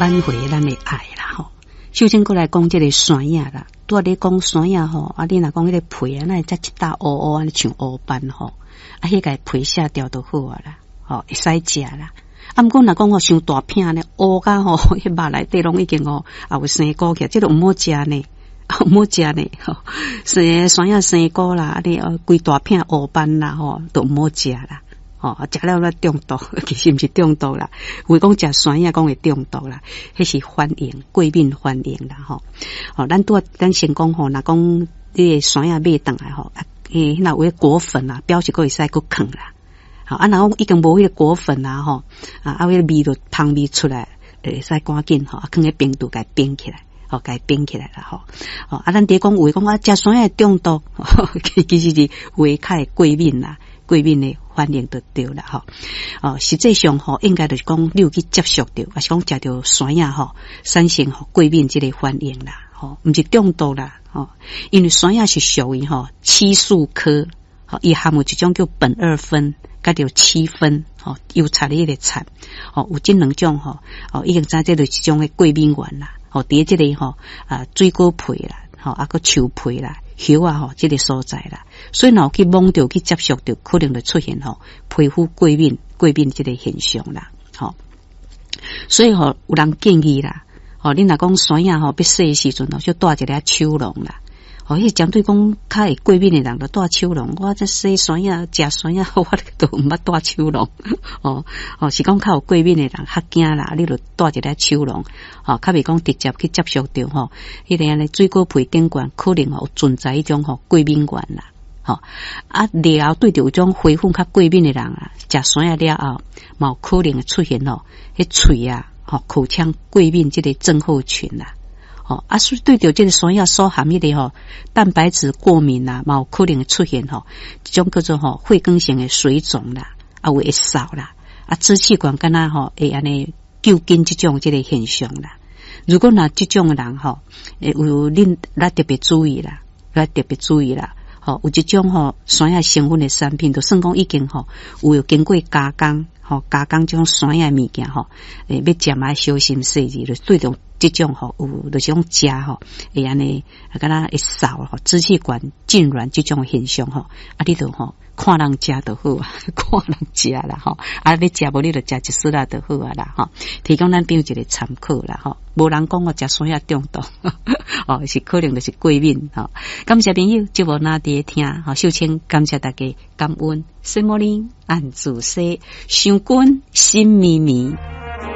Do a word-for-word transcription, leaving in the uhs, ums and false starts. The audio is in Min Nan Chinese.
挽回咱的愛啦吼。首先閣來講這个山仔啦，拄仔咧講山仔吼，啊，你若講彼个皮啊，哪會遮一搭烏烏按呢像烏斑吼，啊，彼个皮卸掉就好啊啦，吼，會使食啦。啊，毋過若講吼傷大片呢，烏甲吼，彼肉內底攏已經吼，也有生菇起來，這个毋好食呢，毋好食呢，吼，生山仔生菇啦，啊你哦規大片烏斑啦吼，都毋好食啦。吼，食了咧中毒，其實毋是中毒啦。有講食山仔講會中毒啦，彼是反應，過敏反應啦，吼。吼，咱拄仔咱先講吼，若講你的山仔買轉來吼，啊，欸，若有彼果粉啊，表示閣會使閣囥啦。吼，啊，若講已經無彼個果粉啊，吼，啊，啊，彼个味就芳味出來，會使趕緊吼，啊，囥佇冰櫥共冰起來，吼，共冰起來啦，吼。吼，啊，咱佇咧講有的講啊，食山仔會中毒，其實是有的較會過敏啦。過敏的反應就對啦，吼。哦，實際上吼，應該就是講你有去接觸著，抑是講食著山仔吼，產生吼過敏這个反應啦，吼，毋是中毒啦，吼。因為山仔是屬於吼漆樹科，吼，伊含有一種叫苯二酚，佮著漆酚，吼，油漆的彼个漆，吼，有這兩種吼，哦，已經知這就是一種的過敏原啦，吼，佇這个吼啊水果皮啦，吼，啊閣樹皮啦。葉啊吼，這个所在啦，所以若有去摸著去接觸著，可能就出現吼皮膚過敏、過敏這个現象啦，吼。所以吼，有人建議啦，吼，你若講山仔吼，欲洗的時陣吼，就戴一个手籠啦。吼，彼針對講較會過敏的人，就戴手籠。我這洗山仔、食山仔，我都毋捌戴手籠。哦哦，是講較有過敏的人較驚啦，你就戴一个手籠。吼，較袂講直接去接觸著吼，彼个按呢水果皮頂懸可能吼有存在彼種吼過敏原啦。吼，啊了後對著有種花粉較過敏的人啊，食山仔了後，嘛有可能會出現吼，彼喙啊，吼口腔過敏這个症候群啦。吼，啊，所以對著這个山仔所含彼个吼蛋白質過敏啊，嘛有可能會出現吼一種叫做吼血管性的水腫啦，啊有會嗽啦，啊支氣管敢若吼會按呢揪緊這種這个現象啦。如果若這種的人吼，會有恁來特別注意啦，來特別注意啦。吼，有一種吼山仔成分的產品，就算講已經吼有經過加工，吼加工這種山仔的物件吼，欸，欲食嘛愛小心細膩，就對著這種吼有就是講食吼會按呢，啊敢若會嗽吼，支氣管痙攣這種現象吼，啊你就吼看人食就好啊，看人食啦吼，啊欲食無你就食一絲仔就好啊啦吼，提供咱朋友一个參考啦吼，無人講我食山仔中毒，哦是可能就是過敏吼。感謝朋友節目若佇咧聽，吼秀清感謝大家感恩，什麼呢？按自西，想君心綿綿。